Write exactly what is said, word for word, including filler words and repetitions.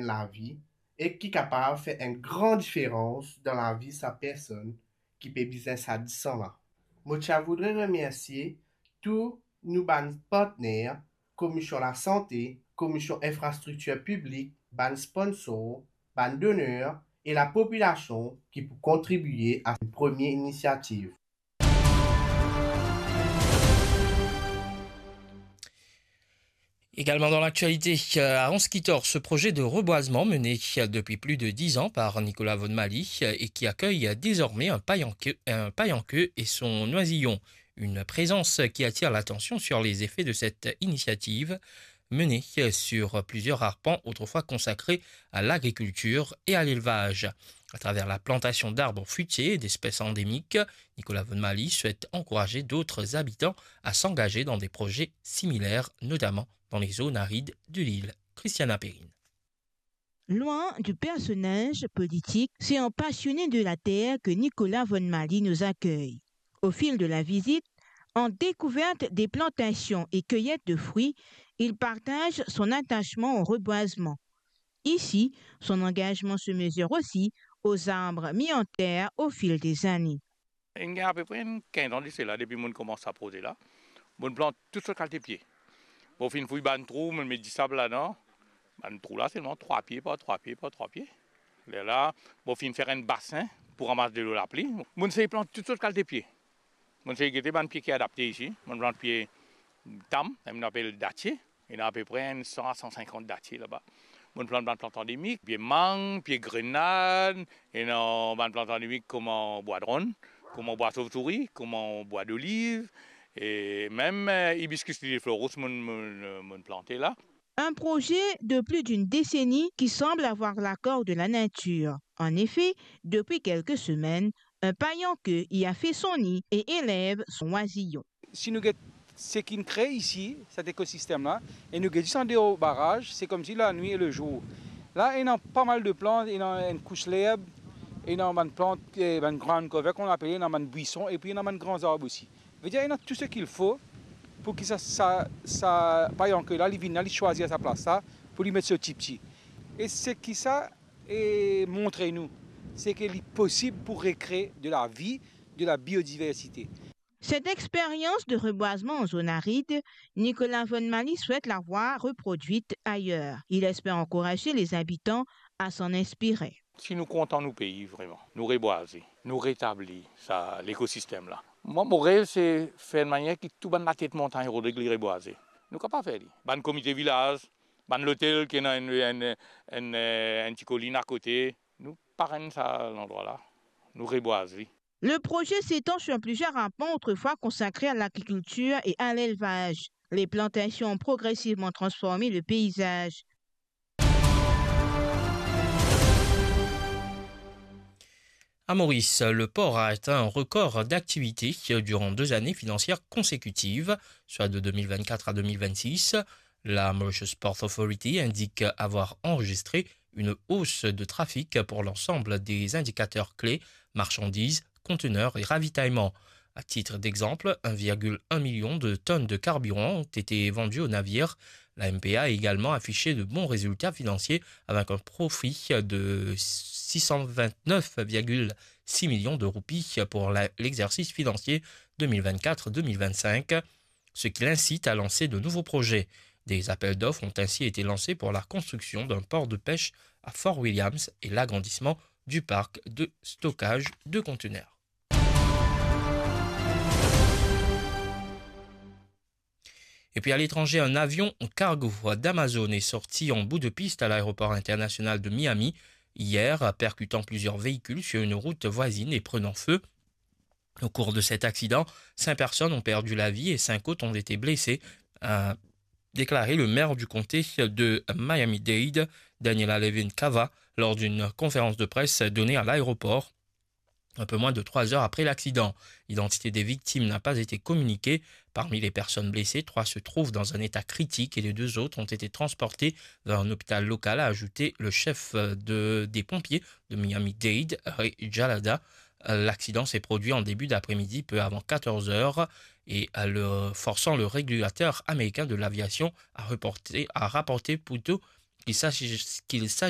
lavi e ki kapav fer enn gran diferans dan lavi sa personn ki pe bizin sa disan la. Mo ti a voudre remersie tou nou bann partner, Komisyon Lasante, Komisyon Infrastriktir Piblik, bann sponsor, bann doner e lapopilasion ki pou kontribie a premie inisiativ. Également dans l'actualité, euh, à Anse-Quithorse, ce projet de reboisement mené depuis plus de dix ans par Nicolas Vonmaly, euh, et qui accueille désormais un paillanqueux, un paillanqueux et son oisillon. Une présence qui attire l'attention sur les effets de cette initiative menée sur plusieurs arpents autrefois consacrés à l'agriculture et à l'élevage. À travers la plantation d'arbres fruitiers et d'espèces endémiques, Nicolas Vonmaly souhaite encourager d'autres habitants à s'engager dans des projets similaires, notamment dans les zones arides de l'île. Christiana Perrine. Loin du personnage politique, c'est en passionné de la terre que Nicolas Vonmaly nous accueille. Au fil de la visite, en découverte des plantations et cueillette de fruits, il partage son attachement au reboisement. Ici, son engagement se mesure aussi aux arbres mis en terre au fil des années. Inn gagn apepre enn kinz an de sela, depi mo'nn koumans sa proze la, mo'nn plant tou sort kalite pie. Mo finn fouy bann trou, mo'nn met disab ladan. Bann trou la selman trwa pie par trwa pie par trwa pie. Lerla, mo finn fer enn basin pou ramas delo lapli. Mo'nn sey plant tou sort kalite pie. Mo'nn sey gete bann pie ki adapte isi. Mo'nn plant pie tam, mo'nn apel datie. Ena apepre enn san a san sinkant datie laba. Mo'nn plant bann plant andemik, pie mang, pie grenad, ena bann plant andemik kouma bwa dronn, kouma bwa sovtouri, kouma bwa doliv, e mem, eh, hibiscus liliflorus mo'nn, mo'nn, mo'nn plante la. Un projet de plus d'une décennie qui semble avoir l'accord de la nature. En effet, depuis quelques semaines, un paillanqueux y a fait son nid et élève son oisillon. Si nou get seki inn kree isi, set ekosistem la, e nou get zis andeor baraz, se koumsi lanwit e lezour. La, ena pa mal de plant, ena enn kous lerb, ena bann plant, eh, bann ground cover, kouma nou apele, ena bann bwison, epi ena bann gran zarb osi. Vedir, ena tou seki fo pou ki sa, sa, sa paillanqueux la, li vinn la, li swazir sa plas la, pou li met so tipti. E seki sa, eh, montre nou, se ke li posib pou rekree de la vie, de la biodiversité. Cette expérience de reboisement en zone aride, Nicolas Vonmaly souhaite la voir reproduite ailleurs. Il espère encourager les habitants à s'en inspirer. Si nou kontan nou pei, vreman, nou rebwaze, nou retabli sa lekosistem la. Mwa, mo rev se fer enn manier ki tou bann latet montagn Rodrig li rebwaze. Nou kapav fer li. Bann komite vilaz, bann lotel ki ena enn, enn, enn, enn ti kolinn akote, nou parenn sa landrwa la, nou rebwaz li. Le projet s'étend sur plusieurs arpents autrefois consacrés à l'agriculture et à l'élevage. Les plantations ont progressivement transformé le paysage. À Maurice, le port a atteint un record d'activité durant deux années financières consécutives, soit de deux mille vingt-quatre à deux mille vingt-six. La Mauritius Port Authority indique avoir enregistré une hausse de trafic pour l'ensemble des indicateurs clés, marchandises, conteneurs et ravitaillement. À titre d'exemple, un virgule un million de tonnes de carburant ont été vendues aux navires. La M P A a également affiché de bons résultats financiers avec un profit de six cent vingt-neuf virgule six millions de roupies pour la, l'exercice financier deux mille vingt-quatre deux mille vingt-cinq, ce qui l'incite à lancer de nouveaux projets. Des appels d'offres ont ainsi été lancés pour la construction d'un port de pêche à Fort Williams et l'agrandissement du parc de stockage de conteneurs. Et puis à l'étranger, un avion cargo d'Amazon est sorti en bout de piste à l'aéroport international de Miami hier, percutant plusieurs véhicules sur une route voisine et prenant feu. Au cours de cet accident, cinq personnes ont perdu la vie et cinq autres ont été blessées, a déclaré le maire du comté de Miami-Dade, Daniela Levin Cava, lors d'une conférence de presse donnée à l'aéroport, un peu moins de trois heures après l'accident. L'identité des victimes n'a pas été communiquée. Parmi les personnes blessées, trois se trouvent dans un état critique et les deux autres ont été transportés vers un hôpital local, a ajouté le chef, euh, de, des pompiers de Miami-Dade, Ray Jalada. Euh, l'accident s'est produit en début d'après-midi, peu avant quatorze heures, et, euh, le, forçant le régulateur américain de l'aviation à reporter, à rapporter plutôt qu'il s'agit, qu'il s'agit